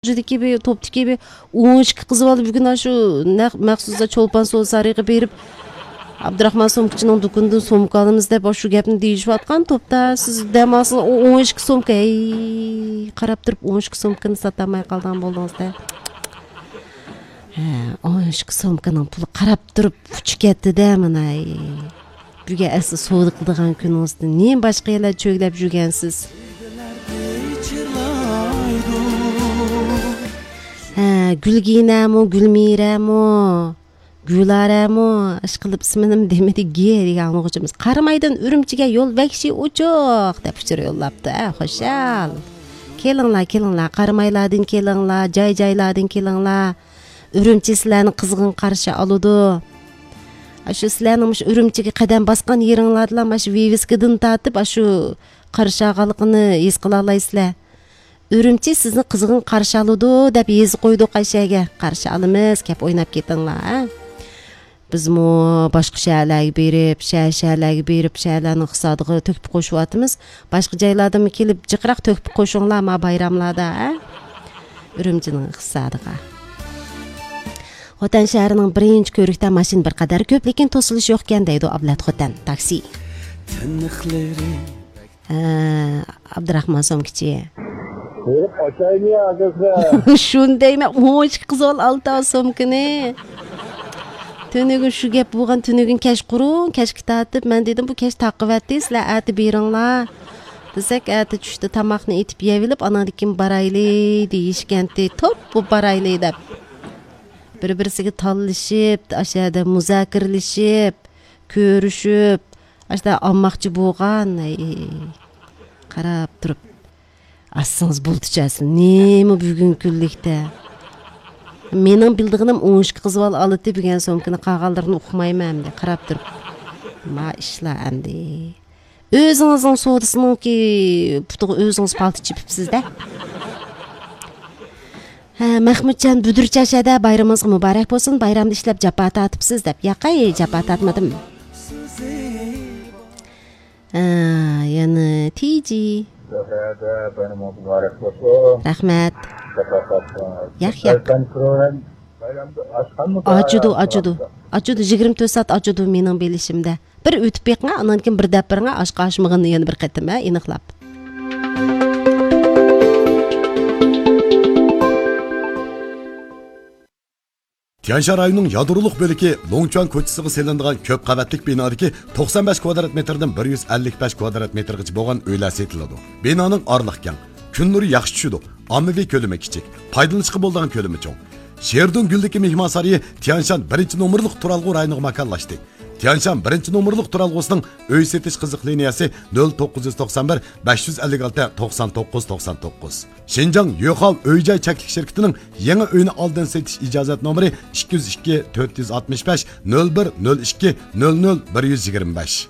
Жидикеби, топтикеби 12 кызып алып бүгүн ашу махсуса чолпан соо сарыгы берип Абдрахман сомкачынын дукунду сомка алабыз деп ошу кепни дейишип аткан топта сиз дем алсаңыз 12 сомка карап туруп 12 сомканы сата алмай калган болдуңуз да. 12 сомканын пулу карап туруп учуп кетти да мына. Бүгө эси соода кылдыган күнүңүздү эмне башка эле чөглөп жүргенсиз? Gül giyinemo, gül miremo, gül aremo, aşkılıp isminim demedi geri anlıqçımız. Karmaydan Ürümçiге yol vekşi uçuk dep uçur yollaptı. Hoşal. Kelinglar, Karmaylardan kelinglar, jay-jaylardan kelinglar. Ürümçi sizlarni kızgın karşı aludu. Aşı sizlarning Ürümçiге qadam basqan yeringlardan aşı viviskidan tatip aşı qarşı ağalıqını es qila alaysizlar. Ürümçi sizni kızgın karşı aludu dep ezi koyduk Ayşe'ge. Karşı alımız kep oynap ketinglar. Biz mu başka şehirlerge berip, şehirlerning iqtisadiga töküp koşup atımız. Başka jaylarda mı kelip jıqırak töküp koşuңlar ma bayramlarda. Ürümçinin iqtisadiga. Xotan şehrining birinchi ko'rikda mashin bir qadar ko'p, lekin to'silish yo'q ekan deydi Ablat Xotan taksi. Abdurahmon so'mkichi. Shundaymi 12 qiz ol 6 so'mkini. Tönөгүн şu gep bo'lgan tönөгүн kesh qurun, keshki tatib, men dedim bu kesh taqqivatdi, sizlar ati beringlar. Desek ati tushdi tamoqni etib yevilib, anadikin barayli deyishganti, top bu barayli deb. Bir-birisiga tallashib, aşağıda muzakirlashib, ko'rishib, aşağıda almoqchi bo'lgan. Qarab turib Assanız bulducasın. Nemi bugün küllikte? Mening bildig'inim 12 qiz bol alıtı bilgen so'mkini qag'allarını uqmayman hamdi. Qarab turib. Ma ishlar hamdi. O'zingizning sodisininki putuga o'zingiz palti chipibsiz-da. Mahmudjon Budurchashada bayramingiz muborak bo'lsin. Bayramda ishlab japa tatibsiz deb. Yaqay japa tatmadim. Yani Tiji Rahmat. Acudu 24 saat acudu mening bilishimda. Bir o'tib beqma, andan keyin bir dap biringga oshqa oshmag'ini yana bir qatim aniqlab. Tianşan rayonunun yadıroluk bölüki Longchuan koçısıga selindiğen köp qavatlik binadaki 95 kvadrat metrden 155 kvadrat metrgacha bo'lgan uylar setiladi. Binoning orliq keng, kun nuri yaxshi tushadi, ommaviy ko'lami kichik, foydalanishga bo'lgan ko'lami cho'ng. Sherdun Guldagi mehmon saroyi Tianşan 1-nomerlik turalg'u rayoniga makonlashdi. Tianşan 1-nomerlik turalg'usining uy setish qiziq liniyasi 0991 556 99 99. Şinjan Yoxal Öy-joy cheklik şirketining yangi uyni oldin setish ijozat nomeri 202 465 01 02 00 125.